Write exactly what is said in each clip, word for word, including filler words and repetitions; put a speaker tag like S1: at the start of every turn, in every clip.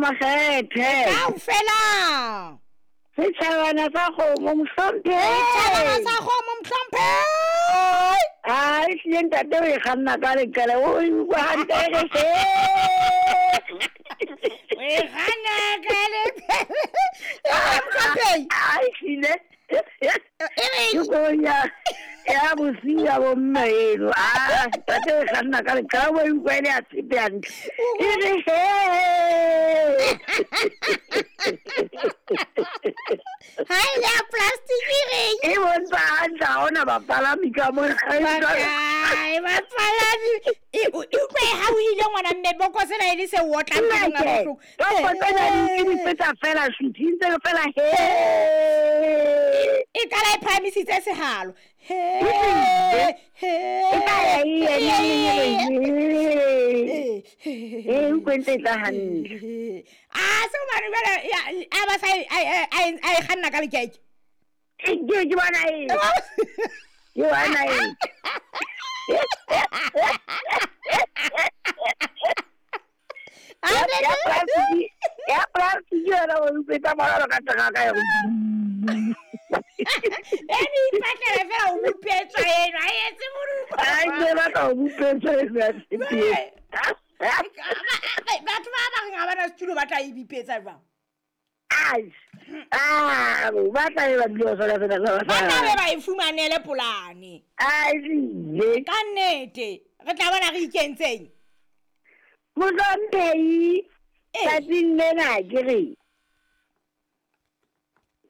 S1: Makgethe.
S2: Kaofela.
S1: Setjhabana sa kgomo mohlomphehi.
S2: Setjhabana sa kgomo mohlomphehi.
S1: Ah, ehlile ntate o e kganna ka leqele, o e utlwa hantle e re he.
S2: O e kganna ka leqele. Mohlomphehi.
S1: Ah, ehlile.
S2: E re
S1: Ke koloi ya ya bosiu ya bomme eno. Ah, ntate o e kganna ka leqele, o e utlwa e le ya tshepe hantle. E re he.
S2: Ha e le ya plastic e reng?
S1: E bontsha hantle ha hona bapalami ka mona.
S2: Bakae bapalami. E o e utlwe e hauhile ngwana mme bokose la e le se otlang pelong a
S1: Nnake,
S2: bohloko.
S1: topo tsena di ke di feta fela shuthi ntse le fela he.
S2: E qala e phahamisitse sehalo. He he.
S1: E tla ya e ye neng e re he. E utlwe ntse e tla hantle.
S2: Ah, se hobane jwale ya- a ba sa e- a e- a e a e kganna ka lekeke.
S1: E ke ke bona eng? Ke bona eng?
S2: Ah,
S1: Ya
S2: ntate.
S1: ya plastic ya plastic yona o utlwe e tsamaya jwalo ka teraka ya go.
S2: E ne ipatlela fela ho bupetswa eno, ha e etse modumo.
S1: Ai ke batla ho bupetswa eno ya tshepe.
S2: Ba- batho ba ba reng ha bana setulo ba tla e bipetsa jwang?
S1: Ai. Ah, ba tla be ba dule ba sona sena sa
S2: Ba tla be
S1: basadi.
S2: ba e fumanele polane.
S1: Ai ehlile.
S2: Ka nnete, re tla bona re ikentseng.
S1: Mohlomphehi,
S2: Ee.
S1: tsatsing lena ke re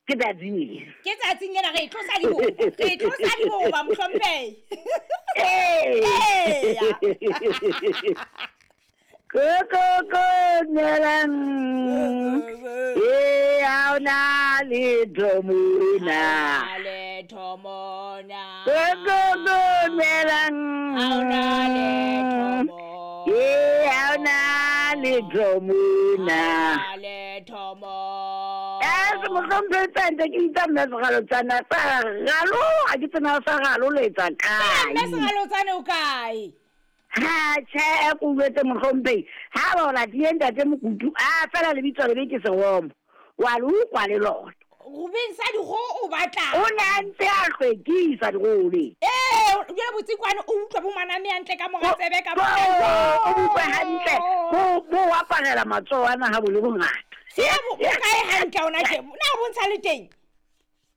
S1: ke tsatsing lena.
S2: Ke tsatsing lena re tlosa diboba, re tlosa diboba mohlomphehi.
S1: Ee.
S2: Eya.
S1: Ko ko ko dumelang. Ee, ha hona letho mona.
S2: Ha letho mona.
S1: Ko ko ko dumelang.
S2: Ha hona letho mona.
S1: Ee, ha hona letho mona.
S2: Ha letho mona.
S1: Eh, se mohlomphehi tsa ntse ke bitsa mme Sekgalotsana sa ralo, ha ke tsena sa ralo le etsa
S2: Mme
S1: kae.
S2: Sekgalotsane o kae?
S1: Ha tjhe, ko utlwetse mohlomphehi. Ha ba o latile ntate Mokutu, a fela lebitso lebe ke seromo. Wa le utlwa le lona.
S2: Rubeng sa dikgoho o batlang.
S1: O ne a ntse a hlwekisa dikgoho.
S2: Ee, jwale botsikwane o utlwa bo maname hantle ka mora tsebe ka
S1: Bo o utlwe hantle. Bo bo aparela matsoho ana ha bo le bongata.
S2: Se bo bo kae hantle hona tje? Na o bontsha le teng?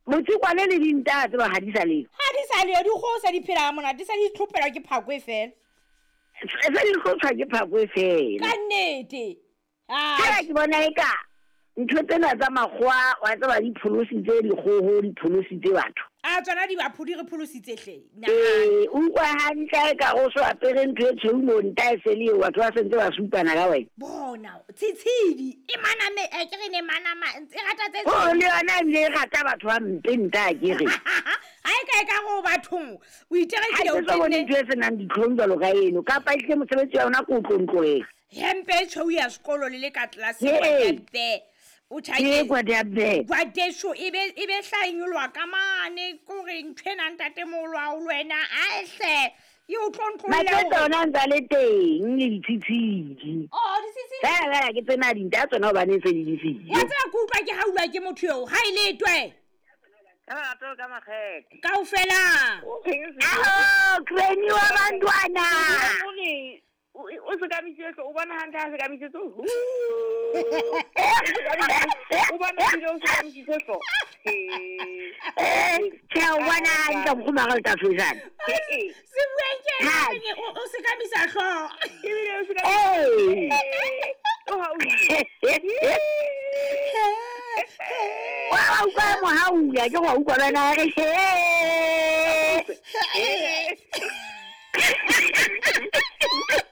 S1: Botsikwane le dinta tseba ha di sa leyo.
S2: Ha di sa leyo, dikgoho se di phela ha monate, di se di tlhophelwa ke phako e fela.
S1: Se di hlotshwa ke phako e fela.
S2: Ka nnete. Ah,
S1: Fela ke bona eka ntho tsena tsa makgowa wa tseba di pholositse dikgoho, di pholositse batho.
S2: a tsona di ba phodi re pholositse hle. Nahana.
S1: Ee, o utlwa hantle eka o so apere ntho e tshweu mo nta e se le eo, batho ba sentse ba supana ka wena.
S2: Bona, tshitshidi e maname, e ke re ne manama, e rata tse
S1: O
S2: tshweu.
S1: le yona ebile e rata batho ba mpe nta ke re.
S2: Ha e ka e ka re o bathong, o
S1: Ha
S2: iterekile
S1: ke
S2: o
S1: so bone
S2: tenne
S1: ntho e senang ditlhong jwalo ka eno, kapa ehlile mosebetsi wa yona ke o tlontlolela.
S2: hempe e tshweu ya sekolo le le ka tlelaseng
S1: Ee.
S2: kwa o
S1: Ke
S2: tjhaketse.
S1: kwa be.
S2: Kwadeso e be e be hlaenyolwa ka mane kore ntho ena ntatemoholo wa hao le wena ae hle e o tlontlolle
S1: Matsetse
S2: hore
S1: ona a ntse a le teng le ditshitshidi.
S2: Oh, ditshitshidi.
S1: Fela fela ke tsena dinta tsona hobane se di di
S2: Wa tseba ke utlwa ke haulwa ke motho eo ha e letwe.
S3: Ka lerato ka makgethe.
S2: Kaofela.
S3: O reng se-
S1: Aho, Granny wa bantwana.
S3: O re o o sekamisitse hlooho, o bona hantle ha sekamisitse hlooho. O bona ebile o sekamisitse hlooho. He.
S1: Eh, tjhe o bona hantle nkgono ha re le tafojana.
S3: He, eh.
S2: Se bueng ke ena
S1: Ha.
S2: a reng o o sekamisa hlooho.
S3: Ebile o sekamisitse.
S1: Ee.
S3: O hauhile.
S1: Wa wa utlwa mohaula ke go utlwa le wena a re he.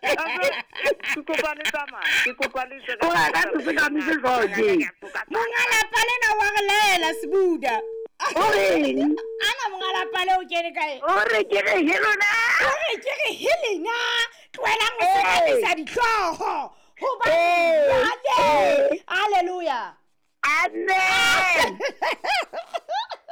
S3: Ke kopa le tsamaya, ke kopa le tswe ka-
S1: O rata se sekamise hlooho tje.
S2: Monga lapa lena wa re laela Sebuda.
S1: O reng?
S2: Ana monga lapa le o kene kae?
S1: O re ke re he lona.
S2: O re ke re he lena tlohelang ho
S1: Ee.
S2: sekamisa dihlooho. Hobane
S1: Ee.
S2: jwale
S1: Ee.
S2: Hallelujah.
S1: Amen.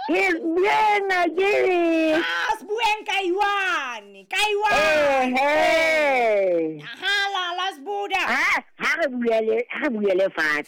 S1: Ke bueng ke re.
S2: Ah, Sebueng ka iwane, ka iwane.
S1: Ehe.
S2: Aha, la la Sebuda.
S1: Ha ha re bulele, ha re bulele fatshe.